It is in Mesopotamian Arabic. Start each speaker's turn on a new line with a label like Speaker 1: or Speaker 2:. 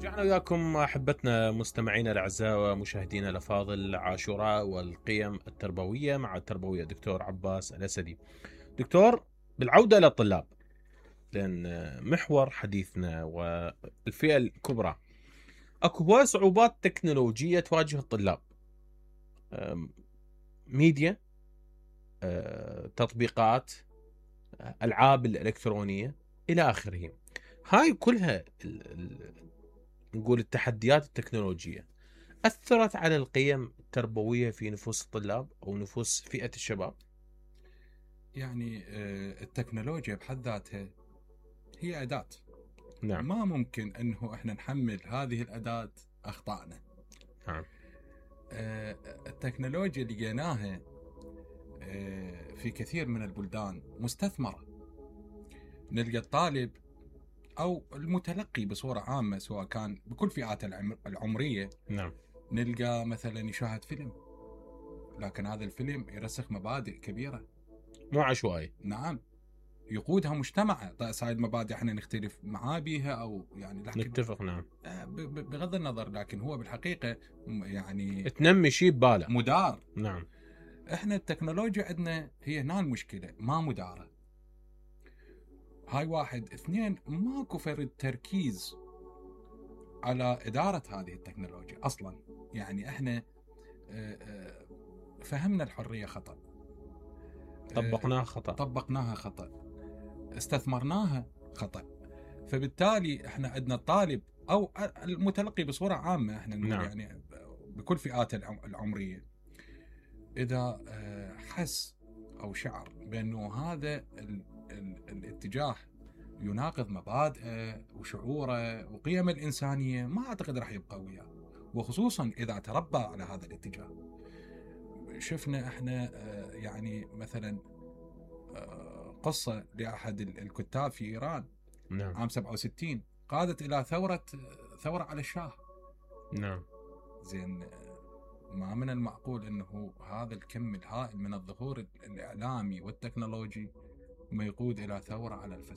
Speaker 1: رجعنا وياكم احبتنا مستمعينا الاعزاء ومشاهدينا الافاضل. عاشوراء والقيم التربويه مع التربويه دكتور عباس الاسدي. دكتور، بالعوده للطلاب، لان محور حديثنا والفئه الكبرى، اكو هواي صعوبات تكنولوجيه تواجه الطلاب، ميديا، تطبيقات، العاب الالكترونيه الى اخره. هاي كلها نقول التحديات التكنولوجية أثرت على القيم التربوية في نفوس الطلاب أو نفوس فئة الشباب.
Speaker 2: يعني التكنولوجيا بحد ذاتها هي أداة.
Speaker 1: نعم.
Speaker 2: ما ممكن أنه إحنا نحمل هذه الأداة أخطائنا.
Speaker 1: نعم.
Speaker 2: التكنولوجيا لقيناها في كثير من البلدان مستثمرة. نلقى الطالب أو المتلقي بصورة عامة، سواء كان بكل فئات العمرية.
Speaker 1: نعم.
Speaker 2: نلقى مثلا يشاهد فيلم، لكن هذا الفيلم يرسخ مبادئ كبيرة،
Speaker 1: مو عشوائي.
Speaker 2: نعم، يقودها مجتمع. هاي المبادئ احنا نختلف معاه بيها او يعني، لكن
Speaker 1: نتفق. نعم.
Speaker 2: بغض النظر، لكن هو بالحقيقة يعني
Speaker 1: تنمي شيء بباله
Speaker 2: مدار.
Speaker 1: نعم.
Speaker 2: احنا التكنولوجيا عندنا هي هنا المشكلة، ما مدارة. هاي واحد. اثنين، ماكو فرد تركيز على إدارة هذه التكنولوجيا أصلا. يعني احنا فهمنا الحرية خطأ، طبقناها خطأ، استثمرناها خطأ. فبالتالي احنا عندنا الطالب او المتلقي بصورة عامة، احنا نقول
Speaker 1: نعم.
Speaker 2: يعني بكل فئات العمرية، اذا حس او شعر بانه هذا الاتجاه يناقض مبادئه وشعوره وقيمه الانسانية، ما اعتقد راح يبقى وياه، وخصوصا اذا تربى على هذا الاتجاه. شفنا احنا يعني مثلا قصة لأحد الكتاب في إيران.
Speaker 1: نعم.
Speaker 2: عام 67 قادت إلى ثورة على الشاه.
Speaker 1: نعم.
Speaker 2: زين، ما من المعقول أنه هذا الكم الهائل من الظهور الإعلامي والتكنولوجي ما يقود إلى ثورة على الفساد.